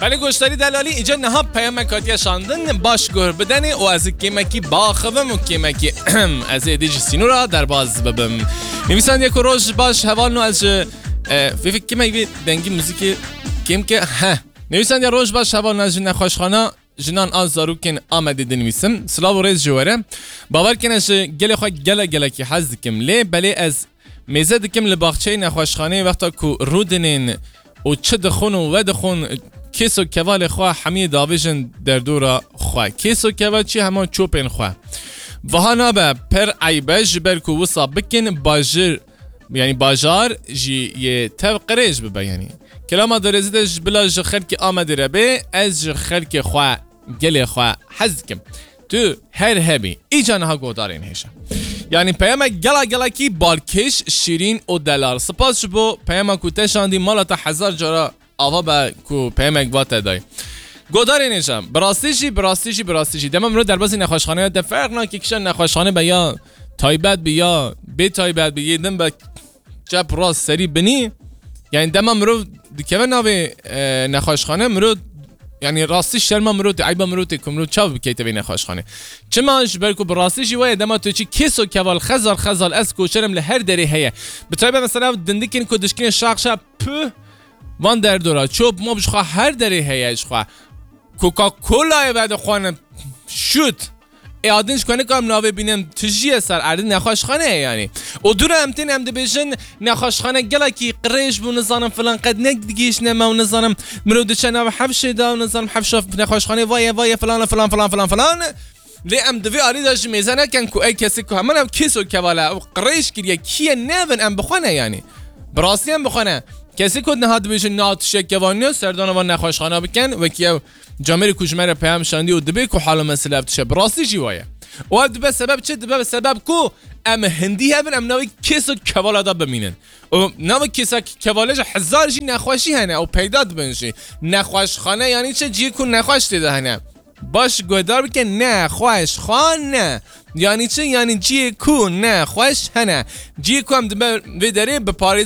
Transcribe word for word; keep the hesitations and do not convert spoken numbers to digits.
Qelê goşdarî delalî, îca niha peyamek hatiye şandin, baş guh bidenê û ez ê kêmekî baxivim û kêmekî ez ê êdî ji sînora derbaz bibim. Nivîsandiye ku roj baş hevalno ez ji, e, vê vê kêmek vê dengî muzîkê kêm ke, heh. Nivîsandiye roj baş hevalno ez ji nexweşxana jinan a zarokên Amedê dinivîsim. Silav û rêz ji we re. Bawer kene ji gelê xwe gele gelekî hez dikim. Lê belê ez mêze dikim li baxçeyê nexweşxaneyê wexta ku rûdinên û çi dixwin û vedixwin kês û kevalê xwe hemiyê davêjin derdora xwe. Kês û keva çi hema çopên xwe. Viha nabe per eyb e ji ber ku wisa bikin bajir, yanî bajar jî yê tev qirêj bibe yanî. Kelama derêzî de ji bila ji xelkê Amedê re bê, ez ji xelkê xwe, gelê xwe hez dikim. Tu her hebî. Îca niha godarên hêşe. Yanî peyamek gela gelekî balkêş, şîrîn û delal. Spas ji bo peyama ku te şandî, mala te hezar cara ava be ku peyamek va te day. Godarên hêşe. Bi rastî jî, bi rastî jî, bi rastî jî. Dema mirov derbasî nexweşxaneya de ferq nake kişa nexweşxane be ya taybet bi ya bê taybet bi, yê din be çep rast serî binî. Yani dema mirov dikeve navê, e, nexweşxane, mirov, yani rastî şerma mirov tê, eyba mirov tê ku mirov çav bikeyte vê nexweşxane. Çima? Ji ber ku bi rastî jî weye dema tu çi kêso keval xezal xezal ez koçerim li her derê heye. Bi taybet mesela dindikên ku dişkine şax şax püh van derdora çop mop ji xwe her derê heye ji xwe. Coca-Colayê vedixwanin şut. Ê adin ji ku nikarim navê bînim, tijî ye ser erdî nexweşxane ye yanî. Û dû re em tên em dibêjin nexweşxane gelekî qirêj bû, nizanim filan qet nedigihîştine me û nizanim mirov diçe nav hefşê de û nizanim hefşa nexweşxanê vaye vaye filan filan filan filan filan. Lê em di vê alî de jî mêze nekin ku ey kesê ku heman ev kêso keval e, ew qirêj kiriye, kî ye nevin em bixwe ne yanî. Bi rastî em bixwe ne. Kesê ku niha dibêjin na tiştek keval niye, serdana van nexweşxana bikin, wekî ew camêrê ku ji me re peyam şandî û dibê ku hala me silav dişe. Bi rastî jî waye. Û ev dibe sebeb çi? Dibe sebeb ku em hindî hebin, em navê kêso kevala de bimînin. Û navê kêsa kevale jî hezar jî nexweşî hene û peyda dibin jî. Nexweşxane yanî çi? Cihê ku nexweş tê de hene. Baş guhdar bike, nexweşxane. Yanî çi? Yanî cihê ku nexweş hene. Cihê ku em dibe vê derê bi parêz